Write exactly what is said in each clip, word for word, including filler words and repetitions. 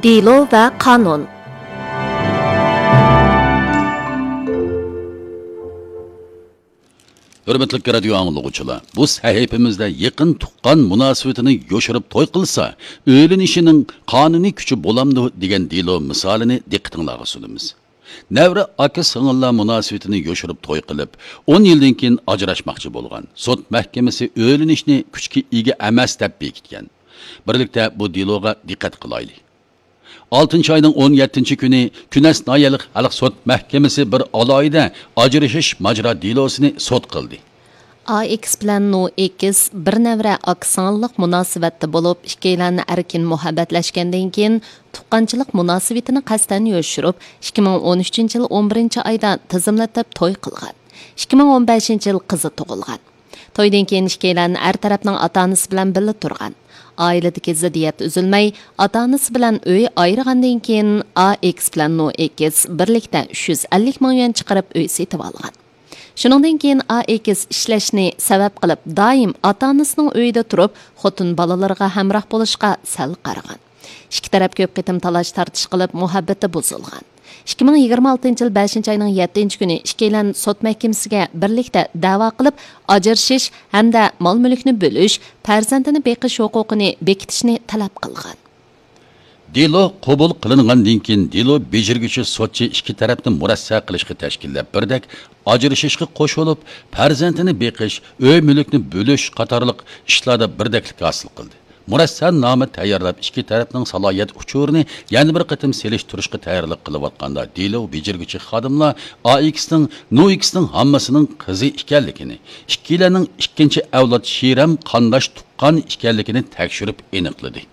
دېلو ۋە قانۇن. ھۆرمەتلىك رادىيو ئاڭلىغۇچىلار، بۇ سەھىپىمىزدە يېقىن تۇغقان مۇناسىۋىتىنى يوشۇرۇپ توي قىلسا، ئۆيلىنىشىنىڭ قانۇنىي كۈچى بولامدۇ دېگەن دېلو مىسالىنى دىققىتىڭلارغا سۇنىمىز. نەۋرە ئاكا سىڭىللار مۇناسىۋىتىنى يوشۇرۇپ توي قىلىپ، ئون يىلدىن كېيىن ئاجراشماقچى بولغان. سوت مەھكىمىسى ئۆيلىنىشنى كۈچكە ئىگە ئەمەس دەپ بېكىتكەن. بىرلىكتە بۇ دېلوغا دىققەت قىلايلى. ئالتىنچى ئاينىڭ ئون يەتتىنچى كۈنى كۈنەس ناھىيەلىك خەلق سوت مەھكىمىسى بىر ئالاھىدە ئاجرىشىش ماجىرا دېلوسىنى سوت قىلدى. ئا ئېكس بىلەن نو ئېكس بىر نەۋرە ئاكا سىڭىللىق مۇناسىۋەتتە بولۇپ، ئىككىيلەن ئەركىن مۇھەببەتلەشكەندىن كېيىن، تۇغقانچىلىق مۇناسىۋىتىنى قەستەن يوشۇرۇپ، ئىككى مىڭ ئون ئۈچىنچى يىل ئون بىرىنچى ئايدا تىزىملىتىپ توي قىلغان. ئىككى مىڭ ئون بەشىنچى يىل قىزى تۇغۇلغان. تويدىن كېيىن ئىككىيلەن ئەر تەرەپنىڭ ئاتا-ئانىسى بىلەن بىللە تۇرغان. ئائىلىدىكى زىددىيەت ئۈزۈلمەي، ئاتا-ئانىسى بىلەن ئۆي ئايرىغاندىن كېيىن، ئا ئېكس بىلەن نو ئېكس بىرلىكتە ئۈچ يۈز ئەللىك مىڭ يۈەن چىقىرىپ ئۆي سېتىۋالغان. شۇنىڭدىن كېيىن ئا ئېكس ئىشلەشنى سەۋەب قىلىپ، دائىم ئاتا-ئانىسىنىڭ ئۆيىدە تۇرۇپ، خوتۇن بالىلىرىغا ھەمراھ بولۇشقا سەل قارىغان. ئىككى تەرەپ كۆپ قېتىم تالاش-تارتىش قىلىپ، مۇھەببىتى بۇزۇلغان. ئىككى مىڭ يىگىرمە ئالتىنچى يىل بەشىنچى ئاينىڭ يەتتىنچى كۈنى ئىككىيلەن سوت مەھكىمىسىگە بىرلىكتە دەۋا قىلىپ، ئاجرىشىش ھەمدە مال-مۈلۈكنى بۆلۈش، پەرزەنتىنى بېقىش ھوقۇقىنى بېكىتىشنى تەلەپ قىلغان. دېلو قوبۇل قىلىنغاندىن كېيىن، دېلو بېجىرگۈچى سوتچى ئىككى تەرەپنى مۇرەسسە قىلىشقا تەشكىللەپ، بىردەك ئاجرىشىشقا قوشۇلۇپ، پەرزەنتىنى بېقىش، ئۆي-مۈلۈكنى بۆلۈش قاتارلىق ئىشلاردا بىردەكلىك ھاسىل قىلدى. مۇرەسسەنامە تەييارلاپ، ئىككى تەرەپنىڭ سالاھىيەت ئۇچۇرىنى يەنە بىر قېتىم سېلىشتۇرۇشقا تەييارلىق قىلىۋاتقاندا، دېلو بېجىرگۈچى خادىملار ئائېكسنىڭ نوئېكسنىڭ ھاممىسىنىڭ قىزى ئىكەنلىكىنى، ئىككىيلەننىڭ ئىككىنچى ئەۋلاد شىرەم قانداش تۇغقان ئىكەنلىكىنى تەكشۈرۈپ ئېنىقلىدى.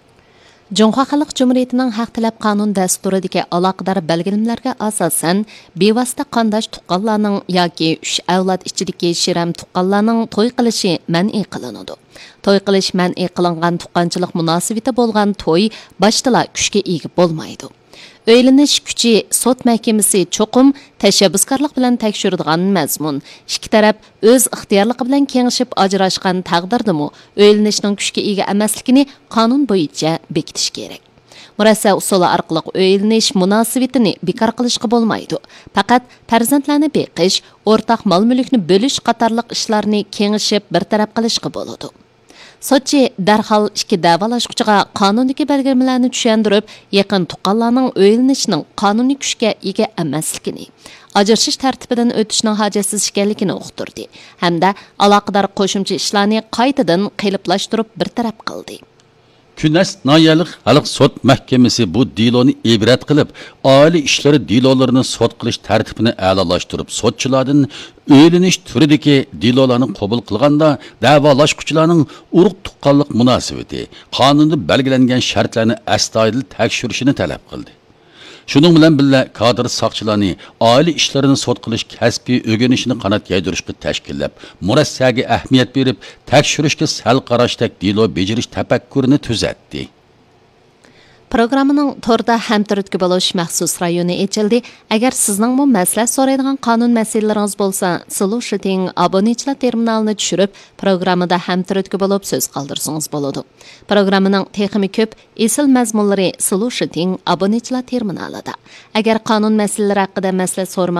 جۇڭخۇا خەلق جۇمھۇرىيىتىنىڭ ھەق تەلەپ قانۇن دەستۇرىدىكى ئالاقىدار بەلگىلىمىلەرگە ئاساسەن، بىۋاسىتە قانداش تۇغقانلارنىڭ ياكى ئۈچ ئەۋلاد ئىچىدىكى شىرەم تۇغقانلارنىڭ توي قىلىشى مەنئى قىلىنىدۇ. توي قىلىش مەنئى قىلىنغان تۇغقانچىلىق مۇناسىۋىتى بولغان توي باشتىلا كۈچكە ئىگە بولمايدۇ. ئۆيلىنىش كۈچى سوت مەھكىمىسى چوقۇم تەشەببۇسكارلىق بىلەن تەكشۈرىدىغان مەزمۇن. ئىككى تەرەپ ئۆز ئىختىيارلىقى بىلەن كېڭىشىپ ئاجراشقان تەقدىردىمۇ، ئۆيلىنىشنىڭ كۈچكە ئىگە ئەمەسلىكىنى قانۇن بويىچە بېكىتىش كېرەك. مۇرەسسە ئۇسۇلى ئارقىلىق ئۆيلىنىش مۇناسىۋىتىنى بىكار قىلىشقا بولمايدۇ. پەقەت پەرزەنتلەرنى بېقىش، ئورتاق مال-مۈلۈكنى بۆلۈش قاتارلىق ئىشلارنى كېڭىشىپ بىر تەرەپ قىلىشقا بولىدۇ. سوتچى دەرھال ئىككى دەۋالاشقۇچىغا قانۇندىكى بەلگىلىمىلەرنى چۈشەندۈرۈپ، يېقىن تۇغقانلارنىڭ ئۆيلىنىشىنىڭ قانۇنىي كۈچكە ئىگە ئەمەسلىكىنى، ئاجرىشىش تەرتىپىدىن ئۆتۈشنىڭ ھاجەتسىز ئىكەنلىكىنى ئۇقتۇردى ھەمدە ئالاقىدار قوشۇمچە ئىشلارنى قايتىدىن قېلىپلاشتۇرۇپ بىر تەرەپ قىلدى. كۈنەس ناھىيەلىك خەلق سوت مەھكىمىسى بۇ دېلونى ئىبرەت قىلىپ، ئائىلە ئىشلىرى دېلولىرىنى سوت قىلىش تەرتىپىنى ئەلالاشتۇرۇپ، سوتچىلاردىن ئۆيلىنىش تۈرىدىكى دېلولارنى قوبۇل قىلغاندا، دەۋالاشقۇچىلارنىڭ ئۇرۇق تۇغقانلىق مۇناسىۋىتى، قانۇندا بەلگىلەنگەن شەرتلەرنى ئەستايىدىل تەكشۈرۈشىنى تەلەپ قىلدى. شۇنىڭ بىلەن بىللە، كادىر ساقچىلارنى ئائىلە ئىشلىرىنى سوت قىلىش كەسپىي ئۆگىنىشىنى قانات يايدۇرۇشقا تەشكىللەپ، مۇرەسسەگە ئەھمىيەت بېرىپ، تەكشۈرۈشكە سەل قاراشتەك دېلو بېجىرىش تەپەككۇرىنى تۈزەتتى. پروگراممىنىڭ توردا ھەمتۈرتكە بولۇش مەخسۇس رايونى ئېچىلدى. ئەگەر سىزنىڭمۇ مەسلىھەت سورايدىغان قانۇن مەسىلىلىرىڭىز بولسا، سولۇشىتىڭ ئابۇنىچىلار تېرمىنالىنى چۈشۈرۈپ، پروگراممىدا ھەمتۈرتكە بولۇپ سۆز قالدۇرسىڭىز بولىدۇ. پروگراممىنىڭ تېخىمۇ كۆپ ئېسىل مەزمۇنلىرى سولۇشىتىڭ ئابۇنىچىلار تېرمىنالىدا. ئەگەر قانۇن مەسىلىلىرى ھەققىدە مەسلىھەت سورىماق